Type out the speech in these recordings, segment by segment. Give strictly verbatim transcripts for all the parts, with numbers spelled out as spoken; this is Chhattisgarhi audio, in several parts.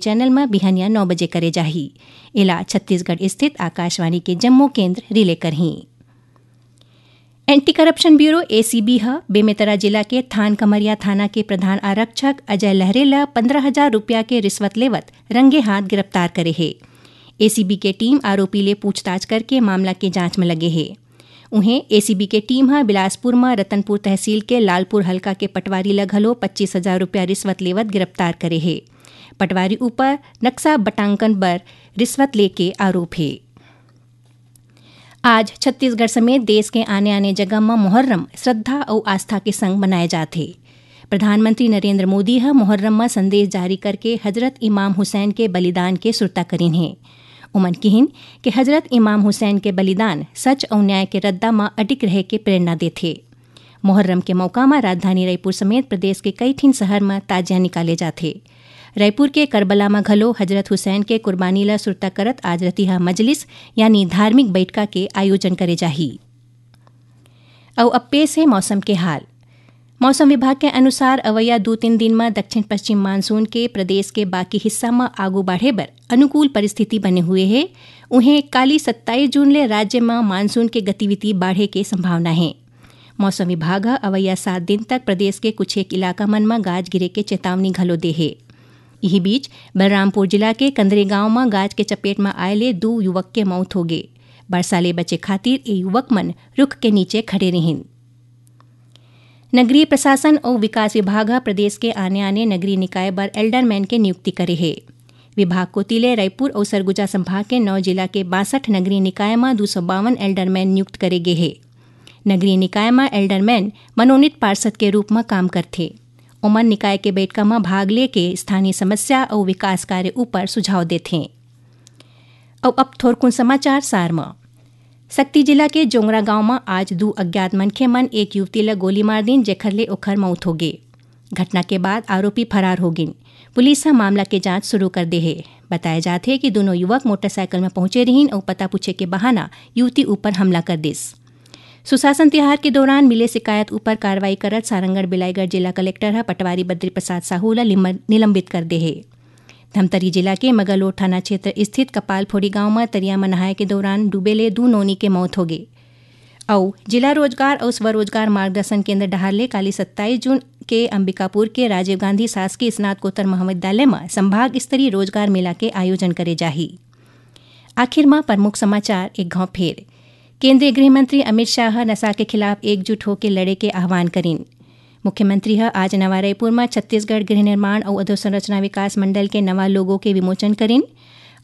चैनल म बिहनिया नौ बजे करे जाही। एला छत्तीसगढ़ स्थित आकाशवाणी के जम्मो केंद्र रिले करहीं। एंटी करप्शन ब्यूरो, एसीबी, ह बेमेतरा जिला के थान कमरिया थाना के प्रधान आरक्षक अजय लहरे ल पंद्रह हजार रुपया के रिश्वत लेवत रंगे हाथ गिरफ्तार करे हे। एसीबी के टीम आरोपी ले पूछताछ करके मामला के जांच म लगे हे। उहें, एसीबी के टीम ह बिलासपुर म रतनपुर तहसील के लालपुर हल्का के पटवारी ल घलो पच्चीस हजार रुपया रिश्वत लेवत गिरफ्तार करे हे। पटवारी ऊपर नक्शा बटांकन बर रिश्वत लेके आरोप हे। आज छत्तीसगढ़ समेत देश के आने-आने जगह म मुहर्रम श्रद्धा अउ आस्था के संग मनाए जात हे। प्रधानमंत्री नरेंद्र मोदी ह मुहर्रम म संदेश जारी करके हजरत इमाम हुसैन के बलिदान के सुरता करिन हे। उमन किहिन कि हजरत इमाम हुसैन के बलिदान सच अउ न्याय के रद्दा म अडिग रहे के प्रेरणा देथे। मुहर्रम के मौका म राजधानी रायपुर समेत प्रदेश के कई ठिन शहर म ताजिया निकाले जाथे। रायपुर के करबला म घलो हजरत हुसैन के कुर्बानी ल सुरता करत आज रतिहा मजलिस यानी धार्मिक बइठका के आयोजन करे जाही। अउ अब पेश हे मौसम के हाल। मौसम विभाग के अनुसार अवइया दू तीन दिन म दक्षिण पश्चिम मानसून के प्रदेश के बाकी हिस्सा म आगू बढ़े बर अनुकूल परिस्थिति बने हुए हे। उहें, काली सत्ताईस जून ले राज्य म मानसून के गतिविधि बाढ़े के संभावना हे। मौसम विभाग ह अवइया सात दिन तक प्रदेश के कुछ एक इलाका मन म गाज गिरे के चेतावनी घलो दे हे। इही बीच, बलरामपुर जिला के कंदरी गांव म गाज के चपेट म आए ले दू युवक के मौत होगे। बरसा ले बचे खातिर ए युवक मन रुख के नीचे खड़े रिहिन। नगरीय प्रशासन अउ विकास विभाग ह प्रदेश के आने-आने नगरीय निकाय बर एल्डरमैन के नियुक्ति करे हे। विभाग कोति ले रायपुर अउ सरगुजा संभाग के नौ जिला के बासठ नगरीय निकाय म दू सौ बावन एल्डरमैन नियुक्त करे गे हे। नगरीय निकाय म एल्डरमैन मनोनीत पार्षद के रूप म काम करथे। ओमन निकाय के बइठका म भाग लेके स्थानीय समस्या अउ विकास कार्य ऊपर सुझाव देथे। अउ अब थोरकुन समाचार सार म। सक्ती जिला के जोंगरा गांव म आज दू अज्ञात मनखे मन एक युवती ल गोली मार दीन, जेखर ले ओखर मउत होगे। घटना के बाद आरोपी फरार हो गिन। पुलिस ह मामला के जांच शुरू कर दे हे। बताया जात हे कि दूनों युवक मोटरसाइकिल म पहुंचे रिहिन अउ पता पूछे के बहाना युवती ऊपर हमला कर दिस। सुशासन तिहार के दौरान मिले शिकायत ऊपर कार्रवाई करत सारंगढ़ बिलाईगढ़ जिला कलेक्टर ह पटवारी बद्री प्रसाद साहू ल लिम-, निलंबित कर दे हे। धमतरी जिला के मगलोट थाना क्षेत्र स्थित कपालफोड़ी गांव म तरिया म नहाए के दौरान डूबे ले दू नोनी के मौत होगे। अउ जिला रोजगार अउ स्वरोजगार मार्गदर्शन केंद्र डहार ले काली सत्ताईस जून के अंबिकापुर के राजीव गांधी शासकीय स्नातकोत्तर महाविद्यालय म संभाग स्तरीय रोजगार मेला के आयोजन करे जाही। आखिर म प्रमुख समाचार एक घांव फेर। केंद्रीय गृह मंत्री अमित शाह ह नशा के खिलाफ एकजुट होके लड़े के आह्वान करिन। मुख्यमंत्री ह आज नवा रायपुर म छत्तीसगढ़ गृह निर्माण अउ अधोसंरचना विकास मंडल के नवा लोगो के विमोचन करिन।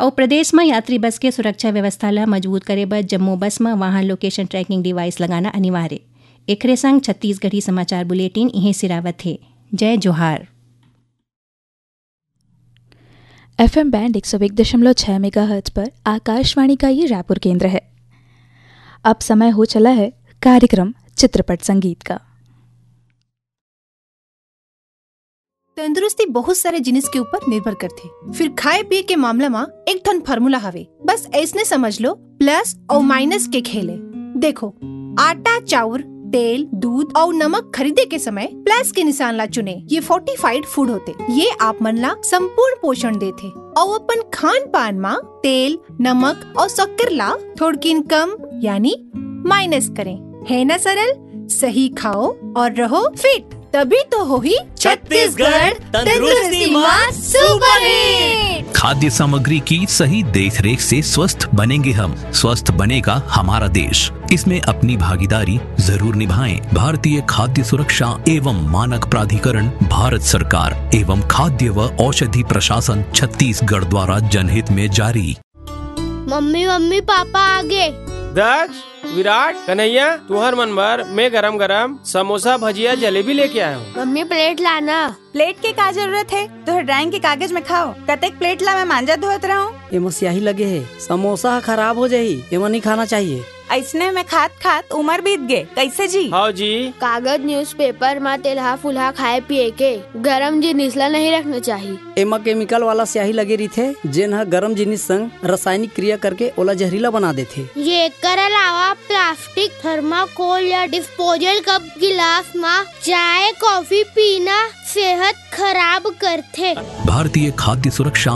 अउ प्रदेश म यात्री बस के सुरक्षा व्यवस्था ल मजबूत करे बर जम्मो बस म वाहन लोकेशन ट्रैकिंग डिवाइस लगाना अनिवार्य। एखरे संग छत्तीसगढ़ी समाचार बुलेटिन इहें सिरावत हे। जय जोहार। एफएम बैंड एक सौ एक दशमलव छह मेगाहर्ट्ज पर आकाशवाणी का ये रायपुर केंद्र है। अब समय हो चला है कार्यक्रम चित्रपट संगीत का। तंदुरुस्ती बहुत सारे जिनिस के ऊपर निर्भर करथे। फिर खाए पिए के मामला म एक ठन फार्मूला हवे, बस ऐसने समझ लो, प्लस अउ माइनस के खेले। देखो, आटा, चाउर, तेल, दूध अउ नमक खरीदे के समय प्लस के निशान ला चुने। ये फोर्टिफाइड फूड होते, ये आप मन ला संपूर्ण पोषण देथे। अउ अपन खान पान म तेल, नमक अउ शक्कर ला थोड़किन कम यानी माइनस करें, है ना सरल? सही खाओ और रहो फिट, तभी तो होही छत्तीसगढ़ तंदुरुस्ती मा सुपरहिट। खाद्य सामग्री की सही देखरेख से स्वस्थ बनेंगे हम, स्वस्थ बनेगा हमारा देश। इसमें अपनी भागीदारी जरूर निभाएं। भारतीय खाद्य सुरक्षा एवं मानक प्राधिकरण, भारत सरकार एवं खाद्य व औषधि प्रशासन छत्तीसगढ़ द्वारा जनहित में जारी। मम्मी, मम्मी, पापा आ गे। दक्ष, विराट, कन्हैया, तुहर मन बर मैं गरम गरम समोसा, भजिया, जलेबी लेके आया हूँ। मम्मी, प्लेट लाना। प्लेट के का जरूरत है? तोहर ड्राइंग के कागज में खाओ। कतेक प्लेट ला मैं मांजा धोत रहूं? एमा स्याही लगे है, समोसा ह खराब हो जाही, एमा नहीं खाना चाहिए। अइसने में खात खात उमर बीत गे, कैसे जी? हाँ जी। कागज, न्यूज़पेपर म तेलहा फुलहा खाए पिए के गरम जिनिस ला नहीं रखना चाहिए। एमा केमिकल वाला स्याही लगे रहिथे, जेन ह गरम जिनिस संग रासायनिक क्रिया करके ओला जहरीला बना देथे। ये एकर अलावा प्लास्टिक, थर्माकोल या डिस्पोजल कप गिलास म चाय, कॉफी पीना सेहत खराब करथे। भारतीय खाद्य सुरक्षा